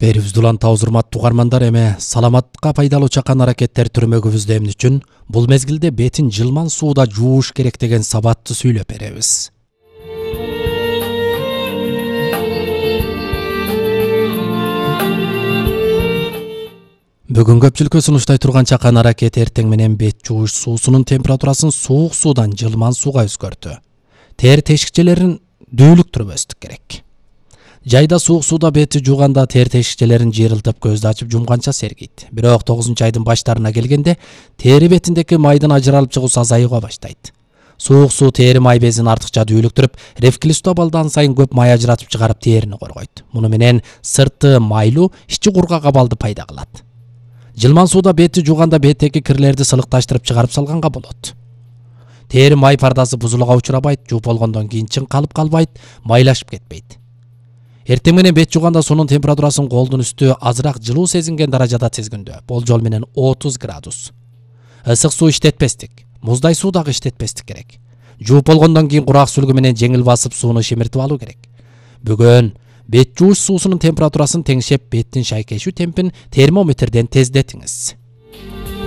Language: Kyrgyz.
Берибизди улан табыз урматтуу угармандар, эме саламатка пайдалуу чакан аракеттер түрмөгүбүздө эмне үчүн бул мезгилде бетин жылман сууда жууш керек деген сабатты сүйлөп беребиз. Бүгүн көпчүлүккө сунуштай турган чакан аракет эртең менен бет жууш суусунун температурасын суук суудан жылман сууга өзгөртүү. Тери тешикчелерин дүүлүктүрбөстүк керек. Жайда суук сууда бетти жууганда тери тешикчелерин жыйрылтып көздү ачып жумганча сергийт. Бирок 9-айдын баштарына келгенде тери бетиндеки майдын ажыралып чыгуусу азаюуга баштайт. Суук суу тери май безин артыкча дүүлүктүрүп, рефлюксту абалдан сайын көп май ажыратып чыгарып терини коргойт. Муну менен сырты майлуу, ичи кургак абалды пайда кылат. Жылман сууда бетти жууганда беттеги кирлерди сылыкташтырып чыгарып салганга болот. Тери май пардасы бузулууга учурабайт, жууп болгондон кийин чыңкалып калбайт, майлашып кетпейт. Эртең менен бет жууганда суунун температурасын колдун үстү азыраак жылуу сезинген даражада тизгиндөө, болжол менен 30 градус. Ысык суу иштетпестик, муздай суу дагы иштетпестик керек. Жууп болгондон кийин курак сүлгү менен жеңил басып сууну шимиртип алуу керек. Бүгүн бет жууш суусунун температурасын теңшеп, беттин шайкешүү темпин термометрден тездетиңиз.